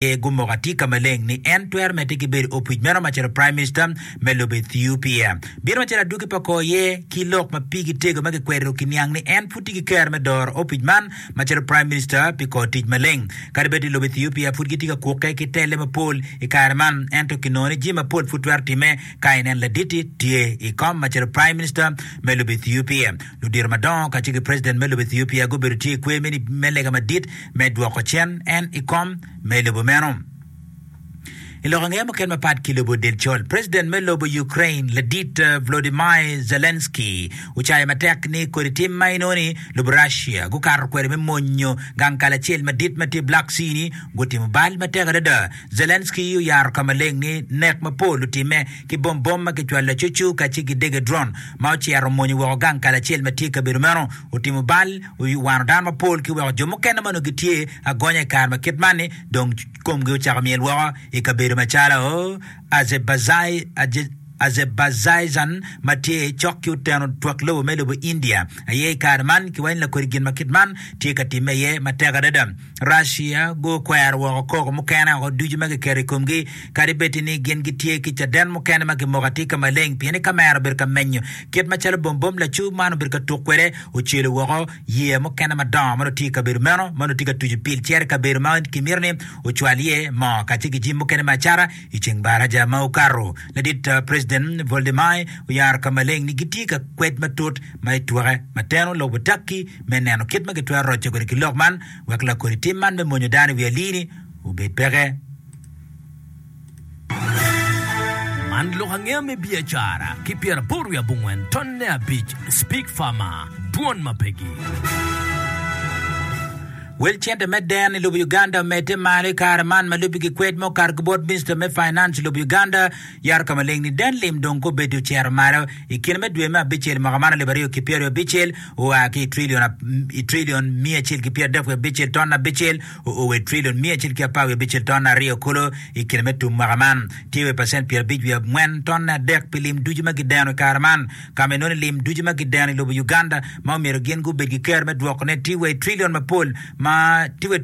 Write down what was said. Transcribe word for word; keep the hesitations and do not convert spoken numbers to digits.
Aye gumoko atika maleng ni en twero medde ki bedo opic meno macalo Prime Minister me lobo Ethiopia. Bino macalo adwogi pa kor ye ki lok ma pigi tego ma kikwedo kiniang ni en pud tye ki kero me doro opic man macalo Prime Minister pi kor tic maleng. Kadi bed ni lobo Ethiopia pud gitye ka kukke ki telle mapol i kare man, ento kinongo ni jami mapol pud twero timme ka inen ladit-ti tye i kom macalo Prime Minister me lobo Ethiopia. Ludito madongo kacel ki President me lobo Ethiopia gubedo tye i kwer me lega madit me dwoko cen en i kom me lobo meno. I lok angeya mukene mapat ki lobo del col, President me lobo Ukraine ladit Volodymyr Zelensky ocayo matek ni kodi tim ma inongo ni lobo Russia gukato kwede me monyo gang kal acel madit ma tye Black Sea ni gutimo bal matek adada. Zelensky oyaro ka maleng ni nek mapol otimme ki bom bom ma kicwalo lacucu kacel ki dege drone ma ocito omonyo woko gang kal acel ma tye i kabedo meno otimo bal owano dano mapol ki weko jo mukene ma onongo gitye agonya i kare ma kit man ni dong komgi ocako myel woko i kabedo macalo Azerbaijan ma tye cok ki oteno twak lobo me lobo India aye i kare man kiwaco ni lakodi gin ma kit man tye ka timme iye matek adada. Russia gukwero woko koko mukene woko ducu ma kiketo i komgi kadi bed ni gin gitye ki caden mukene ma kimoko atir ka maleng pien ni kamera obedo ka menyo kit macalo bombom lacur man obedo ka tuk kwede ocelo woko yeya mukene madongo ma nongo tye i kabedo meno ma nongo tye ka tuco pil cito i kabedo ma kimito ni ocwal iye moo kacel ki jami mukene me acata i ceng baraja ma okato. Ladit President Volodymyr oyaro ka maleng ni gitye ka kwed matut ma itwoke ma teno lobo Turkey me neno kit ma gitwero roco kwede ki lok man wek lakodi tim man me monyo dano i wi alii-ni obed peke. Man lok angeya me biacara ki pyeraboro wiye abongwen tonne abic Speak Farmer, Dwon ma pegi. Wel cente me den i lobo Uganda omedde malo i kare man ma lubbe ki kwed ma okato ki bot Minista me Finance i lobo Uganda yaro ka maleng ni den lim dong kobedo ocito malo i kine me dwe me abicel i mwaka man alip aryo ki pyeraryo abicel oa ki i trilion miya acel ki pyeradek wiye abicel ton abicel oo wa i trilion miya acel ki apar wiye abicel ton aryo kulu i kine me tum mwaka man tye wa i pacent pyerabic wiye angwen ton adek pi lim ducu ma gideno i kare man ka ma inongo ni lim ducu ma gideno i lobo Uganda ma omyero gin gubed ki kero me dwokone tye wa i trilion mapol ma tye wa i